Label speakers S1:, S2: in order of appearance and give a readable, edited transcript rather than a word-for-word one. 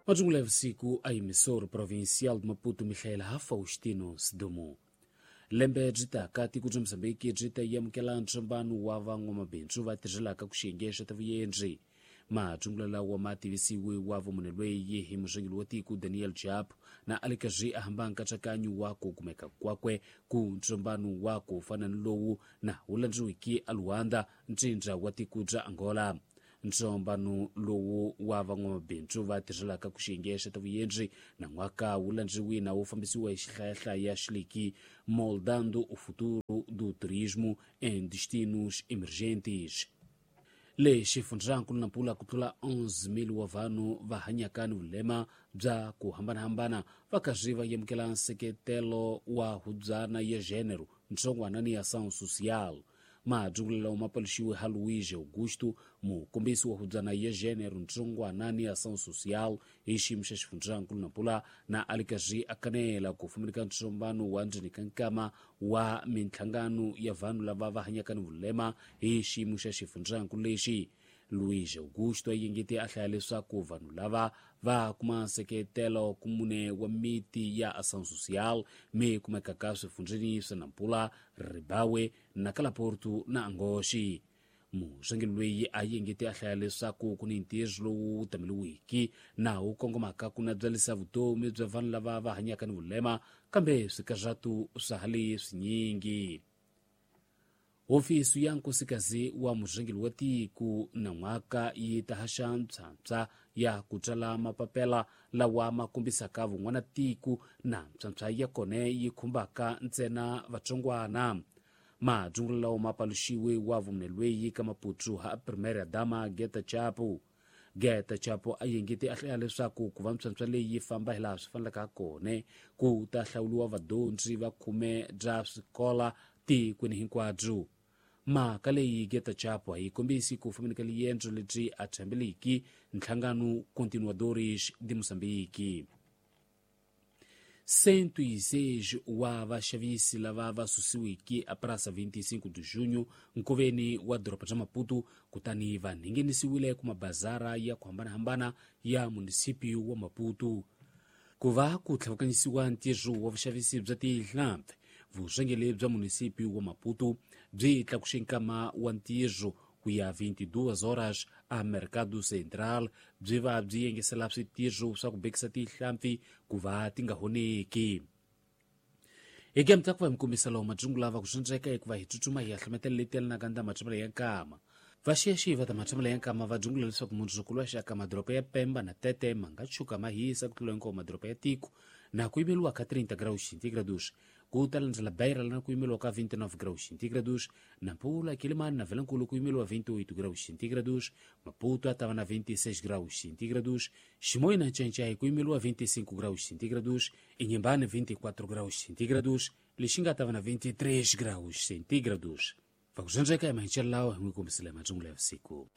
S1: Majungula ya vusiku a emissor provincial de Maputo Michael Faustino Sidumo. Lembe byi taka tiko bya Mozambiki byi ta amukela ntsombano wa van'wamabindzu va tirhelaka ku xiyenge xa ta vuendzi. Majungula lawa ma tivisiwe wa vumunhu lweyi hi murhangeri wa tiko Daniel Chapo na a le karhi a hamba nkatsakanyo wa ku kumeka kwakwe ku ntsombano wa ku fana ni lowu na wu landziwiki a Luanda, ntsindza wa tiko bya Angola. Ntsombano lowu wa van'wamabindzu va tirhelaka ku xiyenge xa ta vuendzi na n'waka wu landziwi na wu fambisiwa hi xihlayahlaya xileki Moldando o Futuro do Turismo em Destinos Emergentes. Le xifundzankulu Nampula ku tlula 11,000 wa vanhu va hanyaka ni vulema bya ku hambanahambana va karhi va amukela nseketelo wa hubyana ya gênero, ntsongwana ni ação social. Majungula lawa ma paluxiwe ha Luís Augusto, mukombisi wa hubyana ya gênero, ntsongwana ni ação social hi xiyimo xa xifundzankulu Nampula, na a le karhi a kanela ku fumaneka ntsombano wa ndzeni ka nkama wa minhlangano ya vanhu lava va hanyaka ni vulema hi xiyimo xa xifundzankulu lexi. Luís Augusto a yengete a hlaya leswaku vanhu lava va kuma nseketelo ku mune wa miti ya ação social mi kumekaka swifundzeni swa Nampula, Ribawe, Nakalaporto na Angoxi. Murhangeri loyi a yengete a hlaya leswaku ku ni ntirho lowu tameliwiki na wu kongomaka ku nabyalisa vutomi bya vanhu lava va hanyaka ni vulema, kambe swikarhatu swa ha le swinyingi. Hofisi ya nkosikazi wa murhangeri wa tiko na n'waka yi ta haxa mpshampsha ya ku tsala mapapela lawa ma kombisaka vun'wana tiko na mpshampsha ya kona yi khumbaka ntsena vatsongwana. Majungula lawa ma paluxiwe wa vumunhu lweyi ka Maputo ha Primeira Dama Geta Chapo. Geta Chapo a yengete a hlaya leswaku ku va mpshampsha leyi yi famba hi laha swi fanelaka ha kona ku ta hlawuriwa vadyondzi va khume bya swikola tikweni hinkwabyo. Mhaka leyi Geta Chapo a yi kombisi ku fambeni ka liendzo lebyi a tshembeliki nhlangano Continuadores de Moçambique. 106 wa vaxavisi lava va susiwiki a Praça 25 de Junho nkoveni wa doroba bya Maputo kutani va nghenisiwile ku mabazara ya ku hambanahambana ya munisipio wa Maputo. Ku va ku tlhavukanyisiwa ntirho wa vuxavisi bya tihlampfi, vurhangeri bya munisipio wa Maputo byi tlakuxe nkama wa ntirho ku ya 22 horas a Mercado Central, byi va byi yengesela switirho swa ku bekisa tihlampfi ku va ti nga honeki. Hi kemta ku va mi kombisa lawa majungula va ku swindzeka hikuva hi tsutsuma hi ya hlometela leti yelanaka na matshambelo ya nkama. Vaxiyaxiyi va ta matshambelo ya nkama va dzungula leswaku mundzuku wa xaka madoroba ya Pemba na Tete ma nga tshuka ma hisa ku tlula hinkwawo madoroba ya tiko na ku yimeriwa ka 30 graus centígrados. Ku ta landzela Beira na ku yimeriwa ka 29 graus centígrados, Nampula, Quelimane na Vilankulo ku yimeriwa 28 graus centígrados, Maputo a ta va na 26 graus centígrados, Chimoio na Nchainchai ku yimeriwa 25 graus centígrados, Inhambane 24 graus centígrados, Lixinga ta va na 23 graus centígrados. Va ku zwendzeka hi mahinchelo lawa hi n'wi kombisile majungula ya vusiku.